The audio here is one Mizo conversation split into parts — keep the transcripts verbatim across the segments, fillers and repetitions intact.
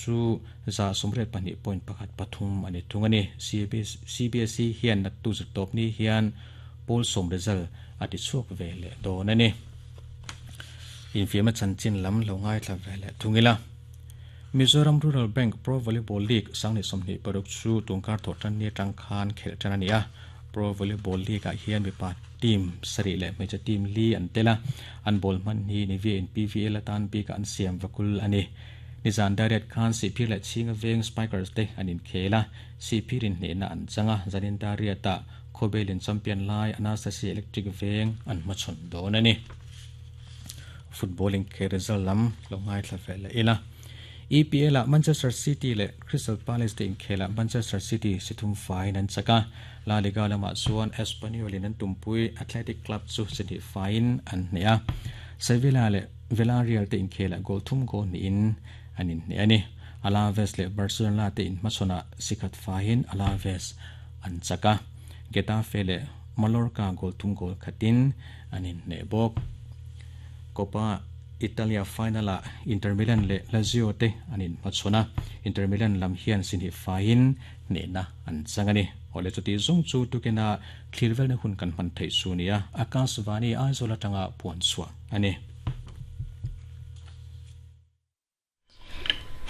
chu za sawmriat pahnih point pakhat pathum ani thung ani. C B S E hian naktuk zirtawp ni hian pawl sawm result a ti chhuak ve leh dawn ani. Infiamna chanchin lam lo ngaithla ve leh thung ila. Mizoram Rural Bank Pro Volleyball League sangni sawmhnih paruk chu tungkar thawh tan ni atang khan khelh tan ani a. Pro Volleyball League ah hian mipa team sarih leh hmeichhe team li an tel a, an ball hman hi Nivea in P V L atan bik an siam vakul ani. Nizan dariat khan Sihphir leh Chhinga Veng Spikers te an inkhel a, Sihphirin hnehna an chang a. Zanin dariatah Khawbelin champion lai Anastasia Electric Veng an hmachhawn dawn ani. Football inkhel result lam lo ngaithla ve leh ila. E P L ah Manchester City leh Crystal Palace te inkhelah Manchester City si thum faiin an chak a. La Liga lamah chuan Espanyol in an tumpui Athletic Club chu si hnih faiin an hneh a. Sevilla leh Villarreal te inkhelah goal thum goal hnihin an inhneh ani. Alaves leh Barcelona te inhmachhawnah si khat faiin Alaves an chak a. Getafe leh Mallorca goal thum goal khatin an inhneh bawk. Coppa Italia final ah Inter Milan leh Lazio te an inhmachhawn a, Inter Milan lam hian si hnih faiin hnehna an chang ani. Awle, chuti zawng chu tukina thlir velna hun kan hman theih chu nia. Akashvani Aizawl atanga puan chhuah ani.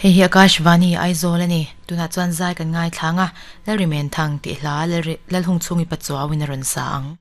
Hei hi Akashvani Aizawl ani. Tunah chuan zai kan ngaithla anga, Lalrimen Thang tih hla Lalhung chhungi Pachuauin a rawn sa ang.